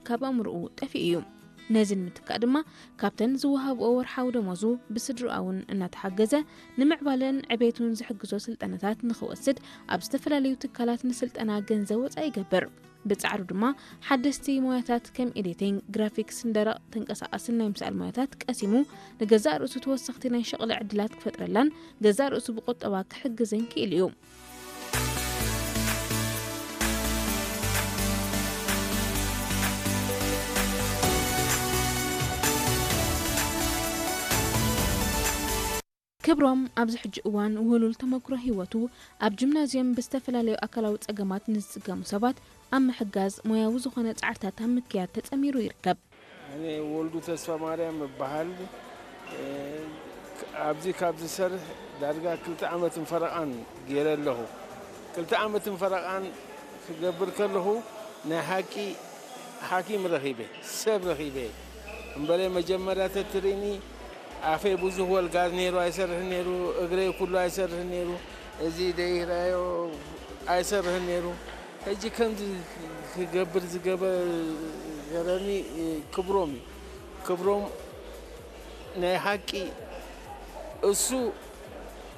ካብ ኣእምሮኡ ጠፊኡ እዩ። ነዚ ንምትካእ ድማ ካብተን ዝወሃብኦ ወርሓዊ ደሞዙ ብስድራኡ እውን እናተሓገዘ ንምዕባለን ዕቤቱን ዝሕግዞ ስልጠናታት ንኽወስድ ኣብ ዝተፈላለዩ ትካላት ንስልጠና ገንዘብ ወፃኢ ይገብር። ብጻዕሩ ድማ ሓደስቲ ሞያታት ከም ኤዲቲንግ፣ ግራፊክስን ደረቕ ተንቀሳቓስን ናይ ምስኣል ሞያታት ቀሲሙ ንገዛእ ርእሱ ተወሰኽቲ ናይ ሸቕሊ ዕድላት ክፈጥረላን ገዛእ ርእሱ ብቁጠባ ክሕግዝን ክኢሉ እዩ። ክብሮም ኣብዚ ሕጂ እዋን ውህሉል ተመክሮ ህይወቱ ኣብ ጂምናዝየም ብዝተፈላለዩ ኣካላዊ ጸገማት ንዝጽገሙ ሰባት ኣብ ምሕጋዝ ሞያዊ ዝኾነ ጻዕርታት ኣብ ምክያድ ተጸሚሩ ይርከብ። እኔ ወልዱ ተስፋ ማርያም እበሃል። ኣብዚ ካብ ዝሰርሕ ዳርጋ ክልተ ዓመትን ፈረቓን ገይረ ኣለኹ። ክልተ ዓመትን ፈረቓን ክገብር ከለኹ ናይ ሓቂ ሓኪም ረኺበ፣ ሰብ ረኺበ። እምበለ መጀመርያ ተትርእኒ ኣፈይ ብዙሕ ወልጋዝ ነይሩ ኣይሰርሕን ነይሩ፣ እግረይ ኩሉ ኣይሰርሕን ነይሩ። እዚ ደይራዮ ኣይሰርሕን ነይሩ። ሕጂ ከምዚ ክገብር ዝገበረኒ ክብሮም እዩ። ክብሮም ናይ ሓቂ እሱ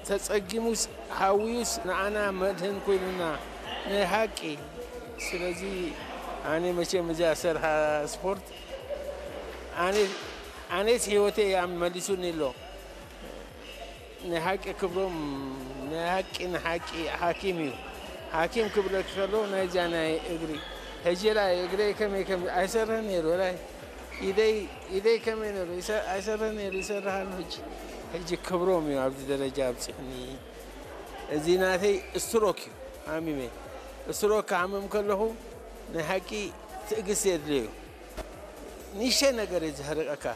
ተጸጊሙስ ሓውዩስ ንዓና መድህን ኮይኑና ናይ ሓቂ። ስለዚ ኣነ መቸም እዚኣ ሰርሓ ስፖርት ኣነ ኣነስ ህይወተይ እያ መሊሱኒ ኣሎ። ናይ ሓቂ ክብሮም ናይ ሓቂ ንሓቂ ሓኪም እዩ። ሓኪም ክብለክ ከሎ ናይዚኣ ናይ እግሪ ሕጂ ላይ እግረይ ከመይ ከም ኣይሰርሕን ነይሩ ላይ ኢደይ ኢደይ ከመይ ነይሩ ኣይሰርሕን ነይሩ ይሰርሕ ኣሎ። ሕጂ ሕጂ ክብሮም እዩ ኣብዚ ደረጃ ኣብፂሑኒ። እዚ ናተይ ስትሮክ እዩ ሓሚመ። ስትሮክ ክሓምም ከለኹ ናይ ሓቂ ትእግስቲ የድልዮ እዩ። ንእሽተይ ነገር እዩ ዘህርቀካ።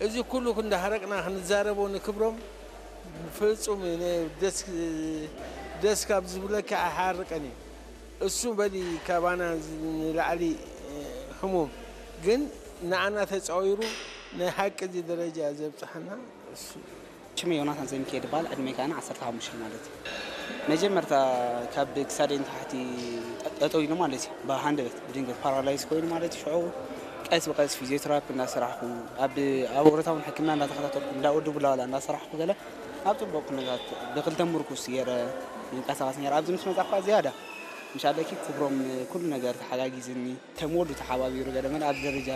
እዚ ኩሉ እንዳሃረቅና ክንዛረቦ ንክብሮም ፍጹም ደስ ካብ ዝብለካ ኣይሓርቀን እዩ። እሱ በሊ ካባና ንላዕሊ ሕሙም ግን ንዓና ተጻዊሩ ናይ ሓቂ እዚ ደረጃ ዘብጽሓና እሱ። ሽመይ ዮናታን ዘሚካኤል ይበሃል። ዕድመይ ከኣ ዓሰርተ ሓሙሽተ ማለት እዩ። መጀመርታ ካብ ክሳደይ ንታሕቲ ጠጠው ኢሉ ማለት እዩ። ብሃንደበት ብድንገት ፓራላይዝ ኮይኑ ማለት እዩ። ሽዑ ቀስ ብቀስ ፊዚዮቴራፒ እንዳሰራሕኩ ኣብ ኣብ ወረታውን ሕክምና እንዳተኸታተልኩ እንዳ ወዲ ቡላዋላ እንዳሰራሕኩ ገለ ኣብ ጽቡቕ ኩነታት ብክልተ ምርኩስ ገይረ ይንቀሳቐስ ነይረ። ኣብዚ ምስ መጻእኳ ዝያዳ ምሽ ኣለኪ ክብሮም ኩሉ ነገር ተሓጋጊዝኒ። ከም ወዱ ተሓባቢሩ ገለ መለ ኣብዚ ደረጃ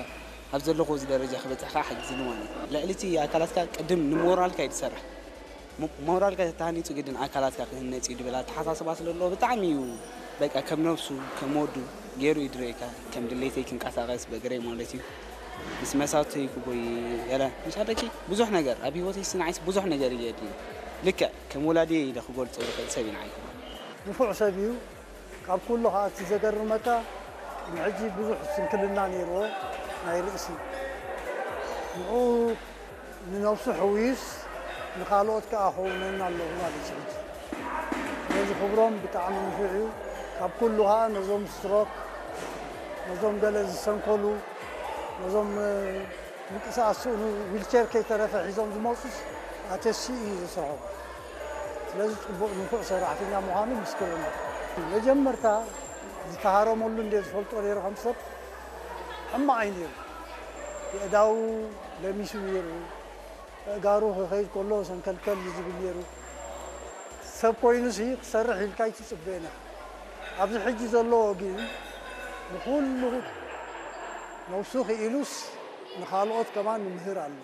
ኣብ ዘለኹ እዚ ደረጃ ክበፅሕ ከዓ ሓጊዝኒ ማለት እዩ። ልዕሊ እቲ ኣካላትካ ቅድም ንሞራልካ እዩ ዝሰርሕ። ሞ- ሞራልካ ተተሃኒፁ ግድን ኣካላትካ ክህነፅ እዩ ድብል ኣተሓሳስባ ስለ ዘለዎ ብጣዕሚ እዩ በቃ ከም ነብሱ ከም ወዱ ገይሩ እዩ ድረየካ ከም ድሌተይ ክንቀሳቀስ በእግረይ ማለት እዩ ምስ መሳተይ ክጎይ ገለ ምሻለኪ ብዙሕ ነገር ኣብ ህይወተይ ስንዓይስ ብዙሕ ነገር እዩ የድሊ ልክዕ ከም ወላዲ ኢለ ክገልፆ ዝኽእል ሰብ ኢና ኣይኮነ ንፉዕ ሰብ እዩ ካብ ኩሉ ኸዓ እቲ ዘገርመካ ቅድሚ ሕጂ ብዙሕ ስንክልና ነይርዎ ናይ ርእሲ ንኡ ንነብሱ ሕውዩስ ንኻልኦት ከኣ ኸውነና ኣለዉ ማለት እዩ ሕጂ ነዚ ክብሮም ብጣዕሚ ንፉዕ እዩ ካብ ኩሉ ኸዓ ነዞም ስትሮክ ነዞም ገለ ዝሰንከሉ ነዞም ምንቅስቃስ ስእኑ ዊልቸር ከይተረፈ ሒዞም ዝመፁስ ኣተሲኡ እዩ ዘስርሖም። ስለዚ ፅቡቕ ንፉዕ ሰራሕተኛ ምዃኑ ምስክርና። መጀመርታ ዝተሃረመሉ እንደ ዝፈልጦ ነይሩ ከም ሰብ ሕማቕ እዩ ነይሩ። የእዳዉ ለሚሱ ነይሩ። ኣእጋሩ ክኸይድ ከሎ ሰንከልከል እዩ ዝብል ነይሩ። ሰብ ኮይኑሲ ክሰርሕ ኢልካ ኣይትፅበን ኢኻ። ኣብዚ ሕጂ ዘለዎ ግን ንኹሉ ነብሱ ክኢሉስ ንኻልኦት ከማን ይምህር ኣሎ።